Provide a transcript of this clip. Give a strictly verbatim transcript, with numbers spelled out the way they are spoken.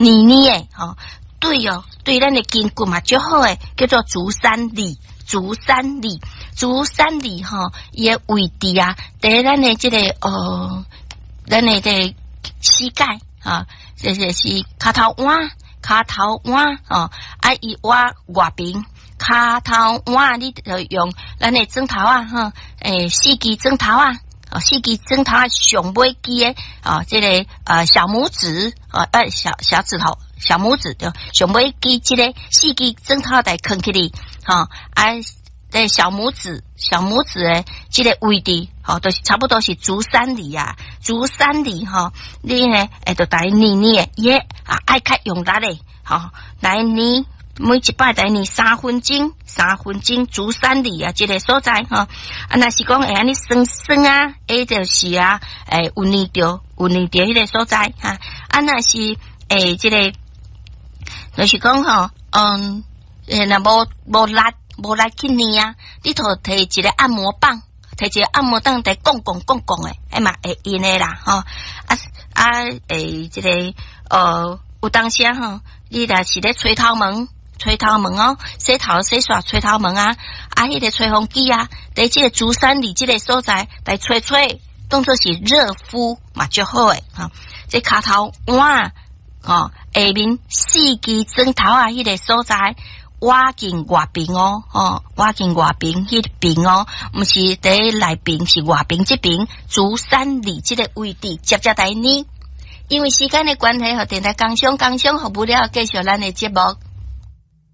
捏捏的吼，對哦，對咱的筋骨嘛足好的，叫做足三里，足三里，足三里吼，伊的位置啊，佇咱的這個呃，咱的這個膝蓋啊，這個是跤頭腕，跤頭腕哦，啊，伊腕外邊。跤頭腕，你就用咱的指頭仔，吼，欸，四支指頭仔，哦，四支指頭仔上尾支的，哦，這個呃小拇指，哦，呃小小指頭，小拇指對，上尾支這個四支指頭來囥起來，吼，啊，這小拇指，小拇指的這個位置，吼，都是差不多是足三里啊，足三里吼，你呢會著來捏捏，伊啊愛較用力的，吼，來捏。每一擺來捏三分鐘，三分鐘足三里啊，這個所在吼。啊，若是講會按呢酸酸啊，會就是啊，會有捏著，有捏著彼個所在哈。啊，若是會這個，就是講吼，嗯，若無無力無力去捏啊，你就提一個按摩棒，提一個按摩棒來摃摃摃摃的，彼嘛會用的啦，吼。啊啊，會這個呃，有當時吼，你若是咧吹頭毛。吹頭毛哦，洗頭洗煞吹頭毛啊，啊，彼個吹風機啊，佇這個足三里這個所在來吹吹，當做是熱敷嘛，足好的吼。這跤頭腕吼，下面四支指頭仔，彼個所在，腕頸外邊哦，吼，腕頸外邊彼邊哦，毋是佇內邊，是外邊這邊足三里這個位置，接接來捏。因為時間的關係，予電台工商工商服務了，繼續咱的節目。